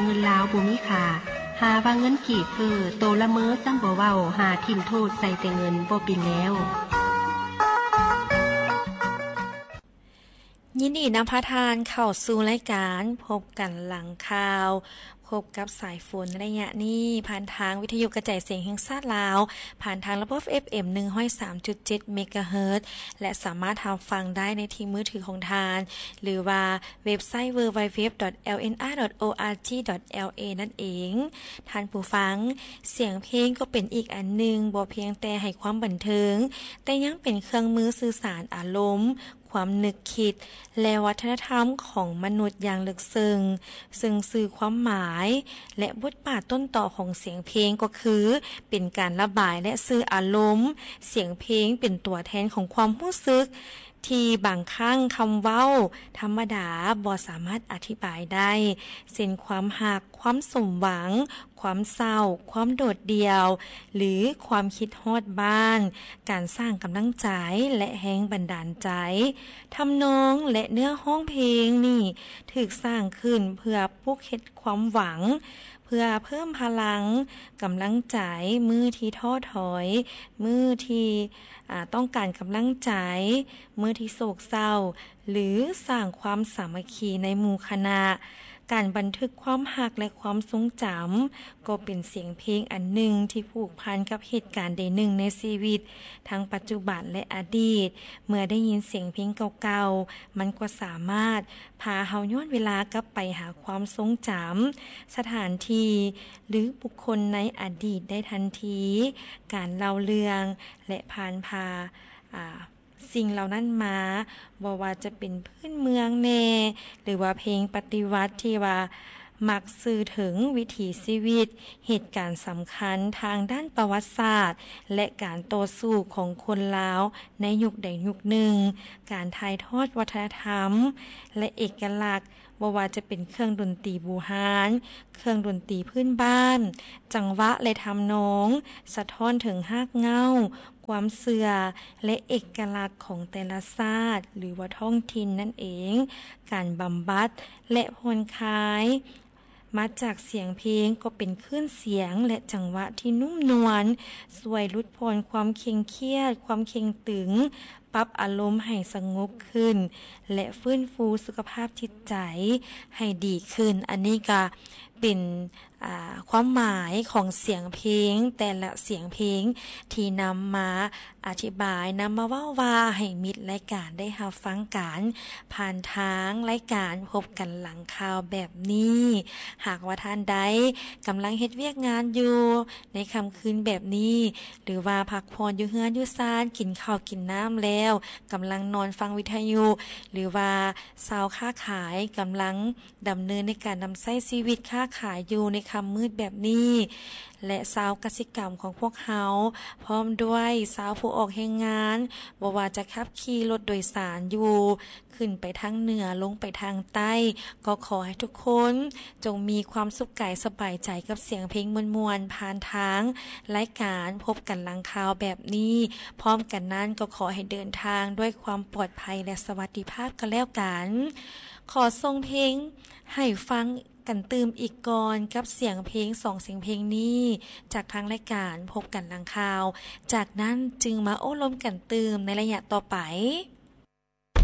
ເງິນລາວບໍ່ມີຄ່າ, ຫາວ່າເງິນກີບເຟີ້, ໂຕລະເມີຊ້ຳບໍ່ເວົ້າ, ຫາຖິ້ມໂທດໃສ່ແຕ່ເງິນບໍ່ເປັນແລ້ວ. ຍິນດີນຳພາທ່ານເຂົ້າສູ່ລາຍການພົບກັນຫຼັງຂ່າວ, ພົບກັບສາຍຝົນໄລຍະນີ້ ຜ່ານທາງວິທະຍຸກະຈາຍສຽງແຫ່ງຊາດລາວ, ຜ່ານທາງລະບົບເອັຟເອັມ ໜຶ່ງຮ້ອຍສາມຈຸດເຈັດ ເມກາເຮີດ ແລະ ສາມາດຮັບຟັງໄດ້ໃນທີ່ມືຖືຂອງທ່ານ ຫຼືວ່າເວັບໄຊ www.lnr.org.la ນັ້ນເອງ. ທ່ານຜູ້ຟັງ, ສຽງເພງກໍເປັນອີກອັນໜຶ່ງ ບໍ່ພຽງແຕ່ໃຫ້ຄວາມບັນເທີງ, ແຕ່ຍັງເປັນເຄື່ອງມືສື່ສານອາລົມ, ຄວາມນຶກຄິດ ແລະ ວັດທະນະທຳຂອງມະນຸດຢ່າງເລິກເຊິ່ງ, ເຊິ່ງສື່ຄວາມໝາຍ ແລະ ບົດບາດຕົ້ນຕໍຂອງສຽງເພງກໍຄື ເປັນການລະບາຍ ແລະ ສື່ອາລົມ. ສຽງເພງເປັນຕົວແທນຂອງຄວາມຮູ້ສຶກ ທີ່ບາງຄັ້ງຄຳເວົ້າທຳມະດາບໍ່ສາມາດອະທິບາຍໄດ້, ເຊັ່ນ ຄວາມຮັກ, ຄວາມສົມຫວັງ, ຄວາມເສົ້າ, ຄວາມໂດດດ່ຽວ ຫຼື ຄວາມຄິດຮອດບ້ານ, ການສ້າງກຳລັງໃຈ ແລະ ແຮງບັນດານໃຈ. ທຳນອງ ແລະ ເນື້ອຮ້ອງເພງນີ້ຖືກສ້າງຂຶ້ນເພື່ອປຸກເຮັດຄວາມຫວັງ, ເພື່ອເພີ່ມພະລັງ, ກຳລັງໃຈ ມື້ທີ່ທໍ້ຖອຍ, ມື້ທີ່ ອາ ຕ້ອງການກຳລັງໃຈ, ມື້ທີ່ໂສກເສົ້າ ຫຼື ສ້າງຄວາມສາມັກຄີໃນໝູ່ຄະນະ. ການບັນທຶກຄວາມຮັກ ແລະ ຄວາມຊົງຈຳ ກໍເປັນສຽງເພງອັນໜຶ່ງທີ່ຜູກພັນກັບເຫດການໃດໜຶ່ງໃນຊີວິດ ທັງປັດຈຸບັນ ແລະ ອະດີດ. ເມື່ອໄດ້ຍິນສຽງເພງເກົ່າໆ, ມັນກໍສາມາດພາເຮົາຍ້ອນເວລາກັບໄປຫາຄວາມຊົງຈຳ, ສະຖານທີ່ ຫຼື ບຸກຄົນໃນອະດີດໄດ້ທັນທີ. ການເລົ່າເລື່ອງ ແລະ ຜ່ານພາ ອາ ສິ່ງເຫຼົ່ານັ້ນມາ, ບໍ່ວ່າຈະເປັນພື້ນເມືອງແດ່ ຫຼືວ່າເພງປະຕິວັດທີ່ວ່າມັກສື່ເຖິງວິຖີຊີວິດ, ເຫດການສຳຄັນທາງດ້ານປະຫວັດສາດ ແລະ ການຕໍ່ສູ້ຂອງຄົນລາວໃນຍຸກໃດຍຸກໜຶ່ງ, ການຖ່າຍທອດວັດທະນະທຳ ແລະ ເອກະລັກ, ບໍ່ວ່າຈະເປັນເຄື່ອງດົນຕີບູຮານ, ເຄື່ອງດົນຕີພື້ນບ້ານ, ຈັງຫວະ ແລະ ທຳນອງ ສະທ້ອນເຖິງຮາກເຫງົ້າ, ຄວາມເຊື່ອ ແລະ ເອກະລັກຂອງແຕ່ລະຊາດ ຫຼືວ່າທ້ອງຖິ່ນນັ້ນເອງ. ການບຳບັດ ແລະ ຜ່ອນຄາຍມາຈາກສຽງເພງກໍເປັນຄື້ນສຽງ ແລະ ຈັງຫວະທີ່ນຸ້ມນວນ, ຊ່ວຍຫຼຸດຜ່ອນຄວາມເຄັ່ງຄຽດ, ຄວາມເຄັ່ງຕຶງ, ປັບອາລົມໃຫ້ສະຫງົບຂຶ້ນ ແລະ ຟື້ນຟູສຸຂະພາບຈິດໃຈໃຫ້ດີຂຶ້ນ. ອັນນີ້ກະເປັນ ອາ ຄວາມໝາຍຂອງສຽງເພງ ແຕ່ລະສຽງເພງທີ່ນຳມາອະທິບາຍ, ນຳມາເວົ້າວ່າໃຫ້ມິດລາຍການໄດ້ຮັບຟັງກັນ ຜ່ານທາງລາຍການພົບກັນຫຼັງຂ່າວແບບນີ້. ຫາກວ່າທ່ານໃດກຳລັງເຮັດວຽກງານຢູ່ໃນຄ່ຳຄືນແບບນີ້ ຫຼືວ່າພັກຜ່ອນຢູ່ເຮືອນຢູ່ຊານ, ກິນເຂົ້າກິນນ້ຳແລ້ວ ກຳລັງນອນຟັງວິທະຍຸ ຫຼືວ່າຊາວຄ້າຂາຍກຳລັງ ດຳເນີນໃນການນຳໃຊ້ຊີວິດຄ້າຂາຍຢູ່ໃນຄ່ຳມືດແບບນີ້ ແລະ ຊາວກະສິກຳຂອງພວກເຮົາ ພ້ອມດ້ວຍຊາວຜູ້ອອກແຮງງານ, ບໍ່ວ່າຈະຂັບຂີ່ລົດໂດຍສານຢູ່ ຂຶ້ນໄປທາງເໜືອ ລົງໄປທາງໃຕ້, ກໍຂໍໃຫ້ທຸກຄົນຈົ່ງມີຄວາມສຸກກາຍສະບາຍໃຈກັບສຽງເພງມ່ວນໆ ຜ່ານທາງລາຍການພົບກັນຫຼັງຂ່າວແບບນີ້. ພ້ອມກັນນັ້ນກໍຂໍໃຫ້ເດີນທາງດ້ວຍຄວາມປອດໄພ ແລະ ສະຫວັດດີພາບກໍແລ້ວກັນ. ຂໍສົ່ງເພງໃຫ້ຟັງກັນຕື່ມອີກກ່ອນ ກັບສຽງເພງສອງສຽງເພງນີ້ ຈາກທາງລາຍການພົບກັນຫຼັງຂ່າວ. ຈາກນັ້ນຈຶ່ງມາໂອ້ລົມກັນຕື່ມໃນໄລຍະຕໍ່ໄປ.